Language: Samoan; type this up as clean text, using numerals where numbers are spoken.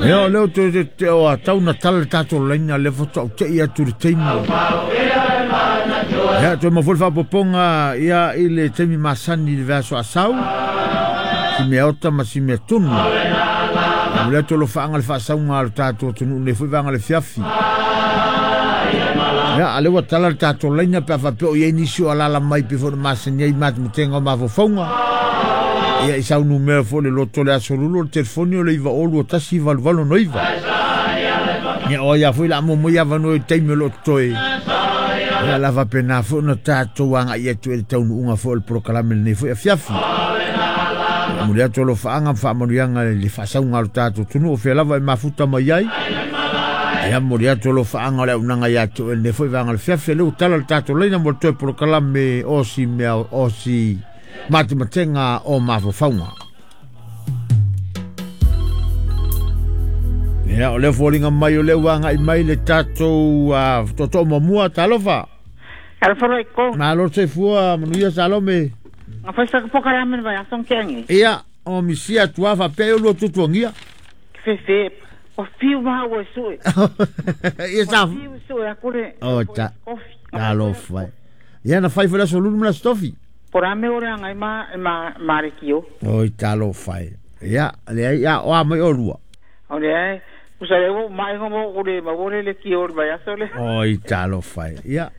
Ia o lea ou te te o tau na tala le tatou laina le faatoa ou tei atu i le taimi. Ia toe maua foi le faaopoopoga ia i le taimi masani i le vaiaso asau. Si mea ota ma si mea tunu. Momoli atu alofaaga le faasauga a lo tatou atunuu nei foi vaega le fiafi. Ia, a lea ua tala le tatou laina pe a faapea o i ai nisi o alaala mai pei foi ona masani ai i matematega o mafaufauga. Ia, i sau numera foi le loto le aso lulu o le telefoni o le 902 18 69. Ia, o ai lava foi le a maua mai avanoa i le taimi o lo o totoe. Ia, la faapena foi ona tatou agai atu i le taunuuga foi o le polokalame lenei foi afiafi. Momoli atu alofaaga ma faamanuiaga i le faasauga a lo tatou atunuu o fea lava e mafuta mai ai. Ia momoli atu alofaaga o le auaunaga ia te oe lenei foi vaega o le fiafi. Lea ua tala le tatou laina mo le toe polokalame o si mea o si matematega o mafaufauga. Ia, o lea foliga mai o lea ua agai mai le tatou tootoo muamua, talofa. Talofa loa i ko. Malo le soifua, manuia Salome. Na fai sa polokalame le vaiaso na tea nei. Ia, o misia atu lava faapea e olua tuatuagia. Fefe, ua fiu maua e sue. Ia sa... Ua fiu e sue aku le... O, ta... Talofa e. Ia na fai foi le aso lulu ma le aso tofi. Po o le a mea o leaga ai ma, ma, ma le kio. Oi, talofa e. Ia, leai, ia, o a mai olua. O lea e, tusa lea ua ou mai ma ou le maua le leitio o le vaiaso lea. Oi, talofa e. Ia,